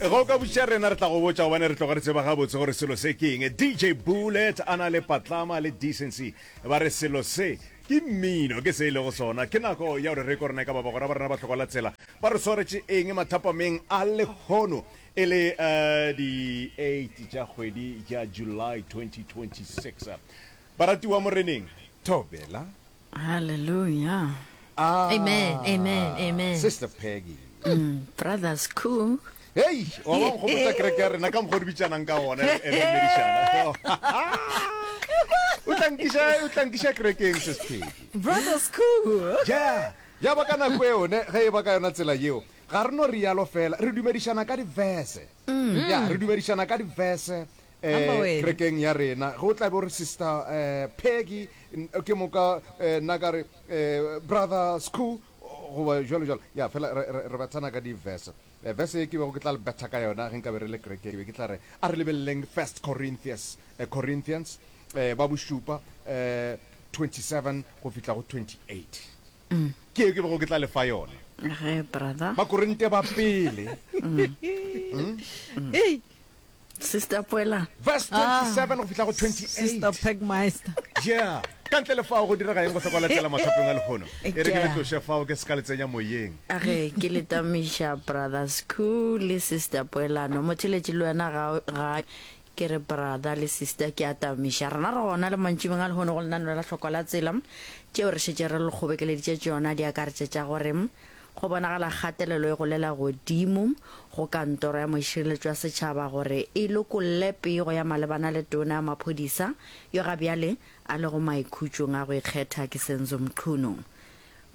Ge o ka botšiša rena re tla go botša gobane re tloga re tseba gabotse gore selo se ke eng. DJ Bullet a na le Patlama le Decency ba re selo se ke mmino, ke se e lego sona. Ke nako ya gore re kwe rena e ka ba bagwera ba rena ba hlokwa la tsela ba re swaretše eng mathapameng a lehono e le di 8 tša kgwedi ya July 2026. Baratiwa Moreneng, thobela. Hallelujah. Ah, Amen, amen, amen. Sister Peggy. Mm, brothers cool. Hei, wa ba nkgopotsa kereke ya rena ka mokgwa o re bitšanang ka gona re re dumedišana. O tla nkiša o tla nkiša kerekeng Sis Peggy. Brothers cool. Ja, ya ba ka nako eo ne ge e ba ka yona tsela yeo ga re no rialo fela re dumedišana ka diverse. Ya, re dumedišana ka diverse eh kerekeng ya rena. Ge o tla be o re Sister eh Peggy ke moka eh nna ka re eh Brother Skhoo goba jwalo jwalo. Ya, fela re re re bethana ka diverse. Verse ye ke bego ke tla le betha ka yona ge nkabe re le kerekeng, ke be ke tla re, A re lebeleleng First Corinthians, Corinthians, ba bošupa, 27 go fihla go 28. Ke ye ke bego ke tla le fa yona. Ge, brother. Bakorinte ba pele. Hey. Sister Poela. Verse 27 go fihla go 28. Sister Pegmeister. Yeah. Ka ntle le fao go direga eng go hloka latela mathapeng a lehono? E re ke le tloše fao ke se ka le tsenya moyeng. A ge ke le tamiša Brother Skhoo le Sister Poelano. Motheletši le wena ga ga ke re brother le sister ke a tamiša. Rena re gona le mantšibeng a lehono go lenaneo la Hlokwa la Tsela. Tšeo re šetše re le kgobekeleditše tšona di akaretša tša gore Go bonagala kgatelelo e golela godimo go Kantoro ya Mošireletši wa Setšhaba gore e lokolle pego ya malebana le Tona ya Maphodisa yo ga bjale a lego maikhutšong a go ikgetha ke Senzo Mchunu.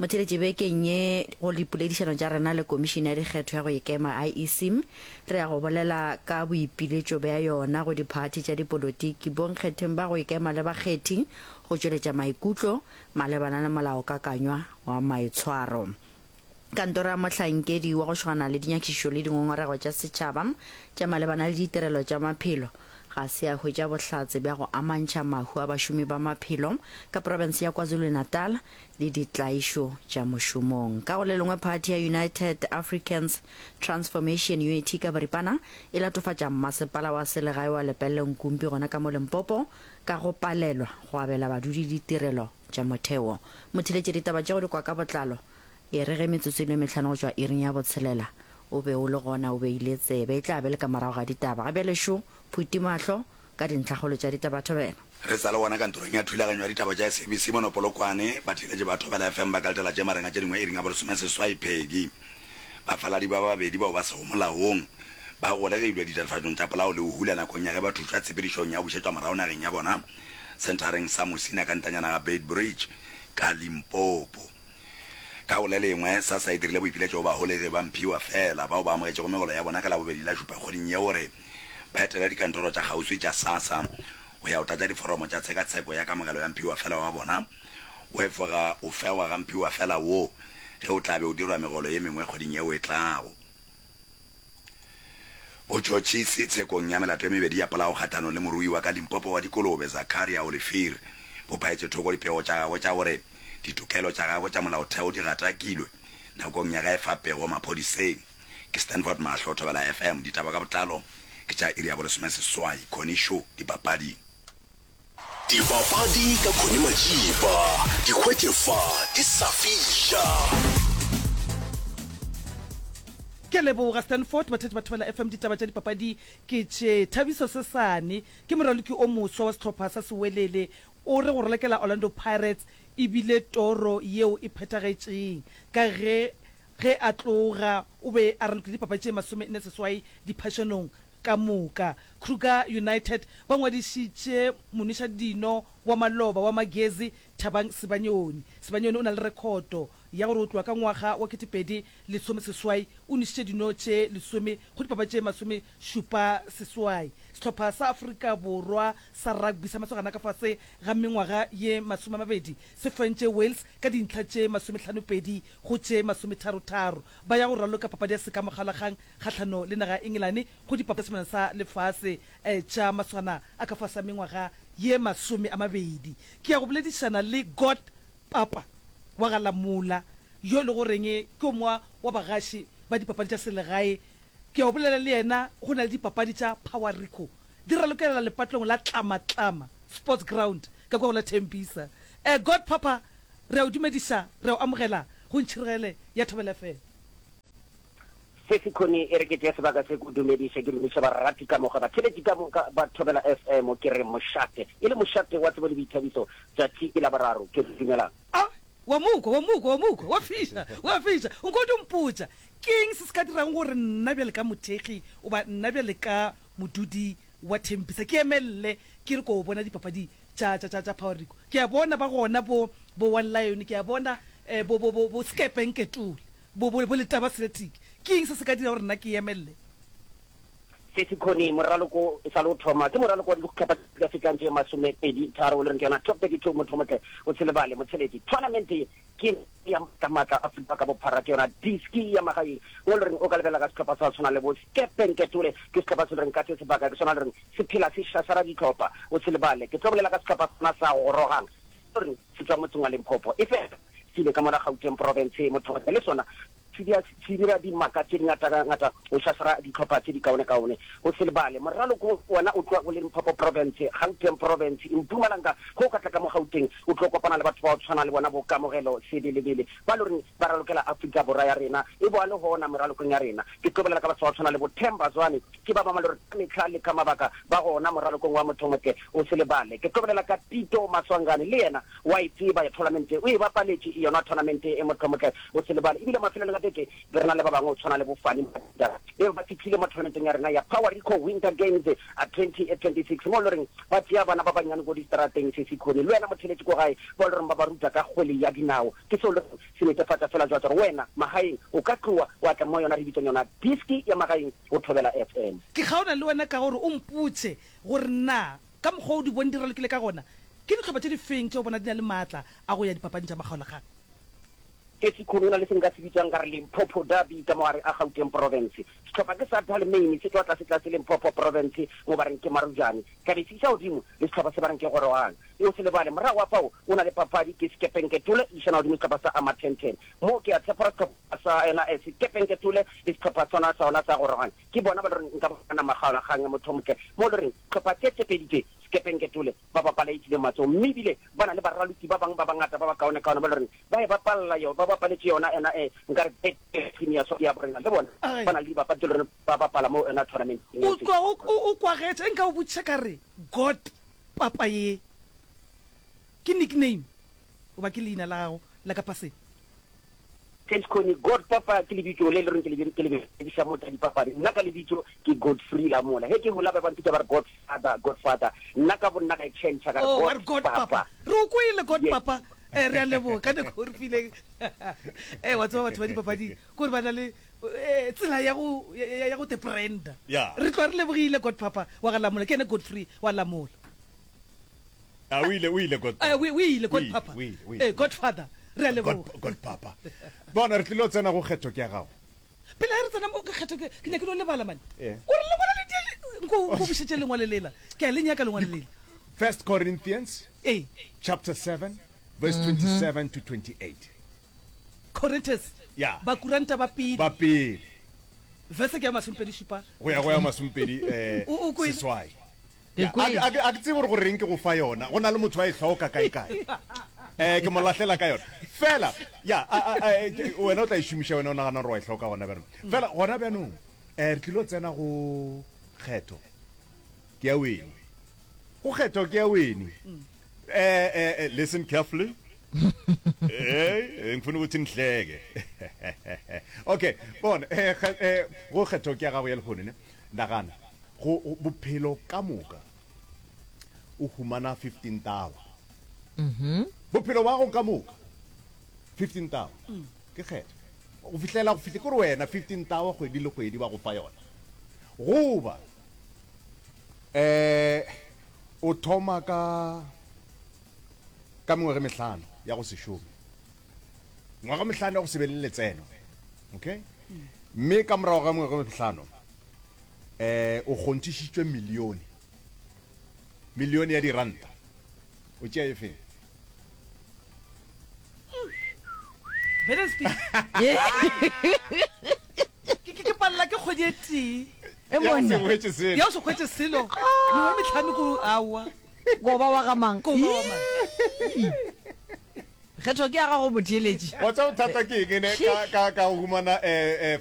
Motheeletši bekeng ye go dipoledišano tša rena le Komišene ya Dikgetho ya go Ikema, IEC, re ya go bolela ka boipiletšo bja yona go diphathi tša dipolotiki, bonkgetheng ba go ikema le bakgethi go tšweletša maikutlo malebana le molaokakanywa wa maitshwaro. Kantoro ya mohlankedi wa go šogana le dinyakišišo le dingongorego tša setšhaba tša malebana le ditirelo tša maphelo ga se ya hwetša bohlatse bja go amantšha mahu a bašomi ba maphelo ka profense ya KwaZulu-Natal le ditlaišo tša mošomong. Ka go le lengwe phathi ya United Africans Transformation, UAT ka boripana, e latofatša mmasepala wa selegae wa Lepelle Nkumpi gona ka mo Limpopo ka go palelwa go abela badudi ditirelo tša motheo. Motheeletši ditaba tše go di kwa ka botlalo e re ge metsotso e le mehlano go tšwa iring ya botshelela o be o le gona o beile tsebe. E tla be le ka morago ga ditaba. Ga bjale šo Phuti Mahlo ka dintlhakgolo tša ditaba Thobela. Re sa le gona kantorong ya thulaganyo ya ditaba tša SABC mono Polokwane, batheeletši ba Thobela FM ba ka letela tše marenga tše dingwe iring ya bolesomeseswai Peggy. Bafaladi ba babedi bao ba sego molaong ba golegilwe ditatofatšong tša polao le go hula nakong ya ge ba thušwa tshepedišong ya go bušetšwa morago nageng ya bona senthareng sa Musina ka ntanyana ga Beitbridge ka Limpopo. Ka go le lengwe, SASSA e dirile boipiletšo go baholegi ba mphiwa feela bao ba amogetšego megolo ya bona ka Labobedi la šupa kgweding ye gore ba etele dikantoro tša kgauswi tša SASSA go ya go tlatša diforomo tša tshekatsheko ya kamogelo ya mphiwa feela wa bona. Go efoga go fegwa ga mphiwa feela wo ge o tla be o dirwa megolo ye mengwe kgweding yeo e tlago. Botšhotšhisi tshekong ya melato e mebedi ya polao kgahlanong le morui wa ka Limpopo wa dikolobe Zakaria Olivier bo phaetše thoko dipego tša gagwe tša gore ditokelo tša gagwe tša molaotheo di gatakilwe nakong ya ge a efa pego maphodiseng. Ke Stanford Mahlo, Thobela FM, Ditaba ka botlalo ke tša iri ya bolesomeseswai. Connie Sho, Dipapading. Dipapadi ka Connie Majiba, di hwetše fa di sa fiša. Ke a leboga Stanford, batheetši ba Thobela FM, ditaba tša dipapadi ke tše. Thabiso Sesane ke moraloki o moswa wa sehlopha sa Sewelele, o re go ralokela Orlando Pirates e bile toro yeo e phethagetšeng ka ge ge a tloga o be a ralokile dipapadi tše 48 diphašanong ka moka. Kruger United ba ngwadišitše monwešadino wa maloba wa Magezi, Thabang Sibanyoni. Sibanyoni o na le rekhoto ya gore go tloga ka ngwaga wa 2018 o nwešitše dino tše lesome go dipapadi tše masomešupa-seswai. Sehlopha sa Afrika Borwa sa rugby sa masogana ka fase ga mengwaga ye masomeamabedi se fentše Wales ka dintlha tše masomehlano-pedi go tše masometharotharo. Ba ya go raloka papadi ya sekamokgalakgang kgahlano le naga ya Engelane go dipapadi tša Sebjana sa Lefase tša maswana a ka fase a mengwaga ye masomeamabedi. Ke ya go boledišana le God Papa wa ga Lamola yo e le goreng ke o mongwe wa bagaši ba dipapadi tša selegae. Ke ya go bolela le yena go na le dipapadi tša Power Rico di ralokelela lepatlong la Tlama Tlama Sports Ground ka kwa go la Tembisa. Eh, God Papa, re a o dumediša, re a o amogela go Ntšhirogele ya Thobela FM. Sesi Connie, e re ke tšee sebaka se ke o dumediše, ke dumiše barati ka moka, batheeletši ka moka ba Thobela FM, ke re mošate, e le mošate wa tsebo le boithabiso, tšatši ke Laboraro, ke re dumelang. A, wa mo kwa, wa mo kwa, wa mo kwa, wa fiša, wa fiša. Nko o di mpotša, ke eng se se ka dirago gore nna bjale ka mothekgi goba nna bjale ka modudi wa Tembisa ke emelele ke re ko bona dipapadi tša, tša, tša, tša Power Rico? Ke a bona ba gona bo, bo One Lion, ke a bona eh, bo, bo, bo, bo Skepe Nketule, bo, bo, bo Letaba Celtic. Ke eng se se ka dirago gore nna ke emelele? Sesi Connie, Moraloko e sa le o thoma, ke moraloko wa dihlopha tša fetang tše 23 o le reng ke yona Top 32 Motho Motle o se lebale Motsheletši. Tournament ye ke ya maatla Afrika ka bophara, ke yona diski ya magaeng mo le reng o ka lebelela ka sehlopha sa go tshwana le bo Skepe Nketole, ke sehlopha se le reng ka se sebaka ke sona le reng se phela se šašara dihlopha o se lebale. Ke tlo bolela ka sehlopha sona sa Gorogang se le reng se tšwa motseng wa Limpopo efela se ile ka mola Gauteng Province Motho Motle le sona Se dia, se dira dimaka tše dingatangata go šašara dihlopha tše dikaonekaone. O se lebale, moraloko wona o tloga go Limpopo Province, Gauteng Province, Mpumalanga. Ge o ka tla ka mo Gauteng, o tlo kopana le batho ba go tshwana le bona bo Kamogelo Sebelebele, ba le goreng ba ralokela Afrika Borwa ya rena, e boa le gona meralokong ya rena. Ke tlo bolela ka batho ba go tshwana le bo Themba Zwane, ke ba bangwe ba le gore ka mehla le ka mabaka ba gona moralokong wa Mothomotle. O se lebale, ke tlo bolela ka Tito Maswanganyi, le yena Wa e tseba ya tournament o e bapaletše yona tournament e mohlomotla o se lebale. Ebile mafelelong a beke be re na le ba bangwe o tshwana le bo Fani Mabuda be ba fihlile mo tournamenteng ya rena ya Power Rico Winter Games a 2026 mo e le goreng ba tšea bana ba bannyane ko distrateng se Sikhoni le wena motheletši ko gae ba e le goreng ba ba ruta ka kgwele ya dinao. Ke seo le goreng se netefatša fela jwa gore wena magaeng o ka tloa wa tla mo yona re bitsang yona diski ya magaeng go Thobela FM. Ke kgaona le wena ka gore o mpotše gore na Ka mokgwa o di bone di ralokile ka gona, ke dihlopha tše di feng tše o bona di na le maatla a go ya dipapading tša makgaolakgang? Esikhulu, Go na le se nka se bitsang ka re Limpopo Derby ka mo gare a Gauteng Province. Sehlopha ke sa Dalmain se tšwa tlasetlase Limpopo Province mo ba reng ke Marujane. Tla be se iša godimo le sehlopha se ba reng ke Gorogang. E o se lebale, morago ga fao o na le papadi ke Sekepenketole e išana godimo sehlopha sa Amathenthen. Mo ke a tshepa gore sehlopha sa yona Sekepenketole le sehlopha sona sa yona sa Gorogang ke bona ba le reng nka bona makgaolakgang ya mothomotle mo le reng tlhopha tše tše pedi tše Sekepenketole ba bapala e tšwile matsogo mme ebile ba na le baraloki ba bangwe ba bangata ba bakaonekaone ba le reng ba e bapalla yo ba bapaletše yona ena e nka re Betway Premier so ya borena le bona ba na le dibapadi tše le reng ba bapala mo yona tournamenteng O tloga o o kwagetše nka o botšiša ka re God papa ye ke nickname goba ke leina la gago la ka paseng? Thanks Connie. God Papa ke lebitso le le reng ke le ke le berekiša mo tša dipapadi. Nna ka lebitso ke Godfrey Lamola. Ge ke gola ba ba mpitša ba re Godfather, Godfather. Nna ka bonna ka e change ka re Oh, wa re God God Papa. Papa. Re o kwele God Yes. Papa. Eh, re a leboga ka nako o re fileng. Eh, wa tseba batho ba dipapadi kore ba na le eh, tsela ya go ya, ya- ya go te branda. Yeah. Re tloga re lebogile God Papa wa ga Lamola. Ke ene Godfrey wa Lamola. A o ile, o ile God Eh, Papa. o o ile O God ile, Papa. o ile, o ile. Eh, Godfather. Re a God, leboga. God Papa. Bona, re tlilo tsena go kgetho ke ya gago. Pele ge re tsena mo ke kgetho ke ke nyake no lebala mane. Eh. O re lengwalo le tee nko nko bušetše lengwalo lela. Ke a le nyaka lengwalo lela. First Corinthians Ee. chapter 7 verse 27 to 28. Corinthians. Yeah. Bakuranta ba pele. Ba pele. Verse ke ya 27. Go ya go ya masomepedi eh O- o kwele? seswai. Ke Ya, a kwele. ke- a ke a ke tsebe gore goreng ke go fa yona. Go na le motho a e hloka kae-kae. Eh, ke mo lahlela ka yona. Fela, ya, a, a, a, eh, ke- wena o tla e šomiša wena o nagana gore wa e hloka gona bjanong. Fela, gona bjanong, eh, re tlilo tsena go kgetho. Ke ya wene. Go kgetho ke ya wene. Eh, eh, eh, listen carefully. Eh, ngifuna ukuthi nihleke. Okay, bona, eh, kge- eh, go kgetho ke ya gago ya lehono ne. Nagana. Go, go, bophelo ka moka o humana 15 tawa. Bophelo ba gago ka moka 15 tawa. Ke kgetho. Go fihlela go fihle ke gore wena 15 tawa kgwedi le kgwedi ba go fa yona. Goba eh o thoma ka ka mengwaga e mehlano ya go se šome. Ngwaga mehlano ya go se be le letseno. Okay? Mme ka morago ga mengwaga e mehlano Eh, o kgonthišitšwe milione. Milione ya diranta. O tšea e feng? Ke ke palela ke kgwedi. kgwedi e tee. E monna. Ya o se hwetše selo. Mengwe metlhano ko aowa. Koba wa ga mang? Koba wa mang? Kgetho ke ya gago motheeletši. Wa tseba bothata ke eng ne ka ka ka go humana eh eh.